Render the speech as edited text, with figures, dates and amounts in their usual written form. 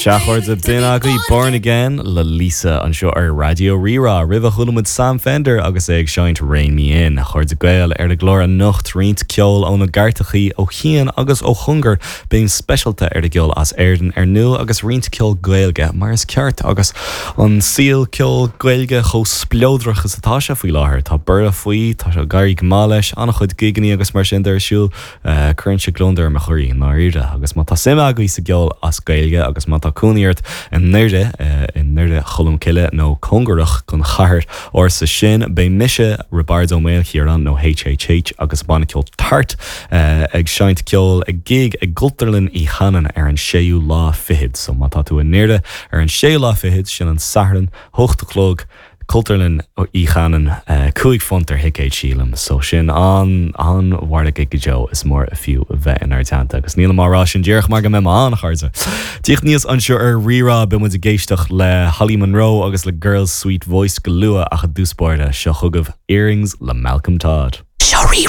Sea, a chairde, b'in agaibh Born Again le Lisa anseo ar Raidió Rí-Rá. Roimhe chuala muid Sam Fender agus é ag seinnt Rein Me In. A chairde Gael, ar an gclár anocht roinnt ceoil ó na gcairteachaí, ó chian agus ó chóngar, béim speisialta ar an gceol as Éirinn ar ndóigh agus roinnt ceol Gaeilge mar is ceart agus an saol ceoil Gaeilge chomh spleodrach is atá sé faoi láthair. Tá borradh faoi, tá sé ag éirí go maith leis, an-chuid gigeannaí agus mar sin de ar siúl. Cuireann sé gliondar ar mo chroí, i ndáiríre. Agus má tá suim agaibh sa gceol as Gaeilge agus má tá cónaí ort i nDoire, i nDoire Cholm Cille nó cóngarach don chathair ársa sin, beidh mise, Roibeárd Ó Maoilchiaráin nó HHH agus banna ceoil Tart ag seinnt ceoil ag gig i gCultúrlann Uí Chanainn ar an séú lá fichead. So má tá tú i nDoire ar an séú lá fichead, sin an Satharn, hocht a chlog, Cultúrlann Uí Chanainn, £5 ar thicéid sílim, so sin an-mhargadh go deo, is mór is fiú a bheith inár dteannta agus nílim á rá sin díreach mar go mbeidh mé ann, a chairde. Tíocht aníos anseo ar Rí-Rá, beidh muid ag éisteacht le Holly Monroe agus le Girl Sweet Voice go luath ach i dtús báire, seo chugaibh Earrings le Malcolm Todd. Seo Rí-Rá.